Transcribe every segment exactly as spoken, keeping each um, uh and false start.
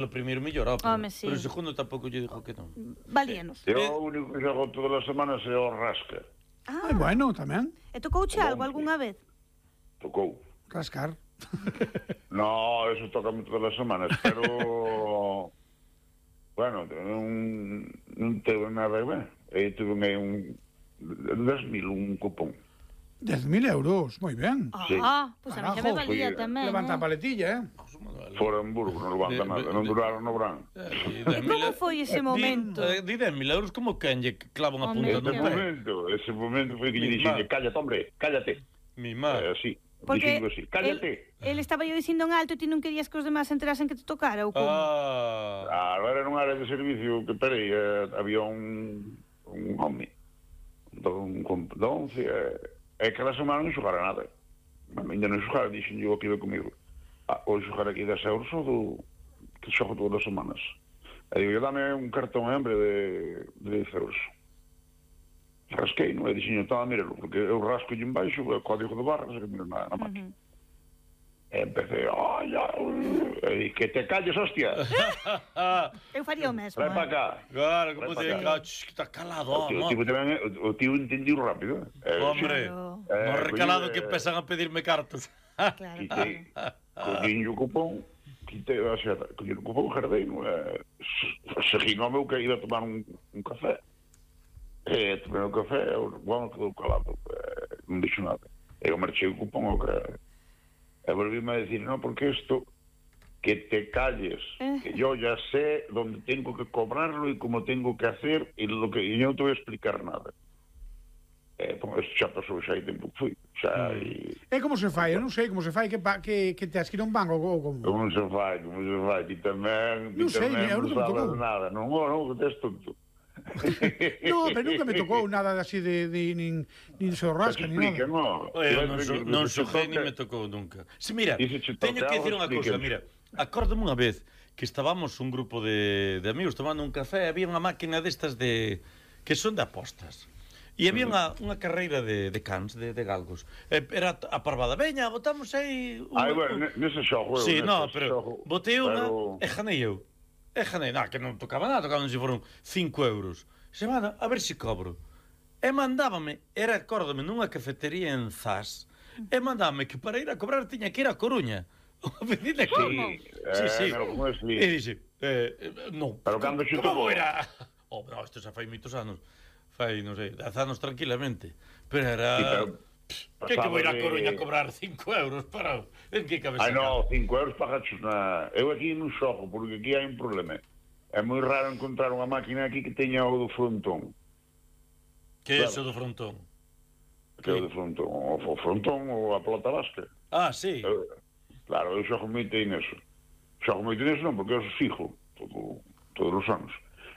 O primeiro mellor, ó, pero, Home, sí. pero o segundo tampouco lle dixo que non. Valíanos. Eu o único que xogo todas as semanas é o rasca. Ah, Ai, bueno, tamén. e tocouche algo algunha vez? Tocou. Rascar. No, eso toca todas as semanas, pero... bueno, non, non teve nada que ver. E tuve aí un... dez mil, un cupón. dez mil euros, moi ben. Ah, Sí. pois a mí xa me Carajo, valía foi- tamén. Levanta a eh. paletilla, eh? Fora Hamburgo, non levanta De- nada. de- Non de- duraron no verán. E como foi ese momento? Di dez mil euros como quen lle clava unha Home, punta Ese no Claro. pé. momento, ese momento foi que lle Mi dixen, má. cállate, hombre, cállate. Mi Eh, má. así, Porque dixen así, cállate. el, el estaba yo dicindo en alto e ti non querías que os demás enterasen que te tocara ou como? Ah. Ah, era nunha área de servicio que, peraí, eh, había un, un home, un compedonce, eh, e cada semana non xogara nada. Ainda non xogara, dixen yo que iba comigo. Ah, hoxe xogar aquí dez euros ou do, que xogo todas as semanas. E digo, dame un cartón, hombre, de, de dez euros. Rasquei, non? E dixen, estaba a mirarlo, porque eu rasco en baixo, o código de barras, e miro na, na máquina. Uh-huh. E empecé, ai, ai, que te calles, hostia. Eu faría o mesmo. Trae eh. para cá. Claro, como Vai te para diga, "Ch, que está calado, O tío, o amor." tipo tamén, o, o tío entendiu rápido. Eh, Hombre, Claro. Eh, no recalado coño, que eh, empiezan a pedirme cartas. Claro, Quitei, claro. collín o cupón, quitei, o sea, collín o cupón, jardeino, eh, seguín ao meu que iba a tomar un, un café. E tomei o café, o bueno, quedou calado, eh, non dixo nada. E eu marchei o cupón ao que... E volvíme a decir, no, porque isto, que te calles, que yo ya sé dónde tengo que cobrarlo y cómo tengo que hacer, y lo que y yo no te voy a explicar nada. Eh, pues xa pasou, xa hai tempo que fui. Xa, e... E como se fai? Eu non sei como se fai que, pa, que, que te asquira un banco ou como. Como se fai, como se fai, ti tamén, ti Non sei, tamén eu non nunca me sabes tocou. nada, non, oh, non, que tes tonto. No, pero nunca me tocou nada así de, de nin, nin se rasca, nin Explica, nada. no. Eu non, so, non xoguei ni me tocou nunca. Si, mira, Dice che teño toca que dicir algo, unha cousa, explícanos. mira, acórdame unha vez que estábamos un grupo de, de amigos tomando un café e había unha máquina destas de que son de apostas. E había unha, unha carreira de, de cans, de, de galgos. E era a parvada, veña, botamos aí... Un, Ai, bueno, nese xogo, eu, Sí, nese no, pero xogo, botei unha pero- e janei eu. E janei, na, que non tocaba nada, tocaban se foron cinco euros. Semana, a ver se cobro. E mandábame, era, acórdame, nunha cafetería en Zas, e mandábame que para ir a cobrar tiña que ir a Coruña. Unha pedida que... Sí, sí. Eh, no, como es, sí. E dixe, eh, eh, non. Pero cando xe como tocou? era? Oh, no, isto xa fai moitos anos. Fai, non sei, dez anos tranquilamente. Pero era... Sí, pero Que que vou ir a pasaba de- Coruña a cobrar cinco euros para... En que cabeza? Ai, no, cinco euros pagachos na... Eu aquí non xogo, porque aquí hai un problema. É moi raro encontrar unha máquina aquí que teña o do frontón. Que é Claro. eso do frontón? Que é o do frontón. O, o frontón ou a pelota vasca. Ah, sí. Eu, claro, eu xogo moito aí neso. Xogo moito neso non, porque eu fijo todo, todos os anos.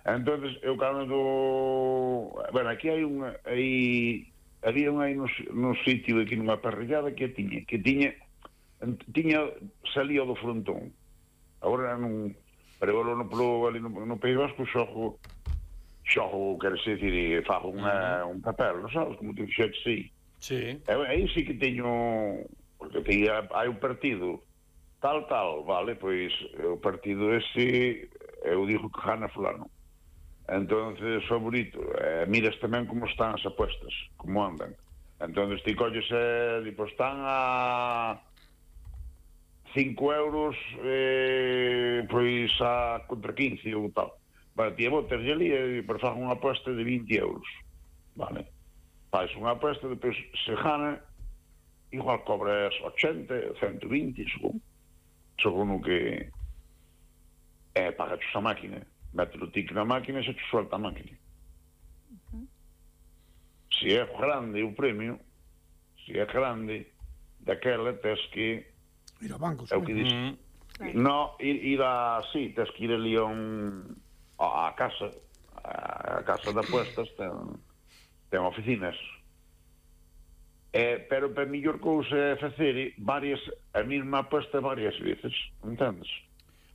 Entonces, eu cando... Bueno, aquí hai unha... Aí... Había unha aí no, no sitio aquí nunha parrillada que tiña, que tiña... Tiña... Salía do frontón. Agora non... Pero eu no, no, ali no, no País Vasco xogo... Xogo, quero dicir, fago unha, un papel, non sabes? Como te fixetes aí. Sí. Eu, aí sí que teño... Porque te, hai un partido tal, tal, vale, pois o partido ese eu digo que gana fulano. Entonces, favorito, eh, miras tamén como están as apuestas, como andan. Entonces, ti colles e, eh, pues, están a cinco euros, eh, pois a contra quince ou tal. Vale, ti botas ali e per faga unha apuesta de vinte euros. Vale. Fais unha apuesta, depois se gana, igual cobras ochenta, ciento vinte, según. Según o que... Eh, pagaches a máquina. Mete o tic na máquina e se te suelta a máquina. Uh-huh. Se é grande o premio, se é grande, daquela tes que... Ir ao banco, é o que dice. Mm. Claro. No, ir, ir a... Sí, tes que ir ali a un... a, a casa. A, a casa de apuestas ten, ten oficinas. Eh, pero para mellor cousa é facer varias, a mesma aposta varias veces, entendes?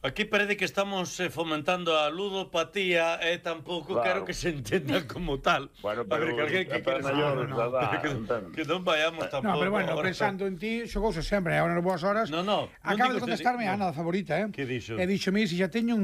Aquí parece que estamos eh, fomentando a ludopatía e eh, tampouco Claro. quero que se entenda como tal. Bueno, a ver, pero que alguén que a quere maiores no, da no, edad, que, entendes? que non vayamos tampouco. No, pero bueno, ahora. pensando en ti, xogouse sempre, agora nas boas horas. No, no, non Acaba digo de contestarme que- a Ana, da favorita, eh? Que dixo? E dixo, mira, se xa teño un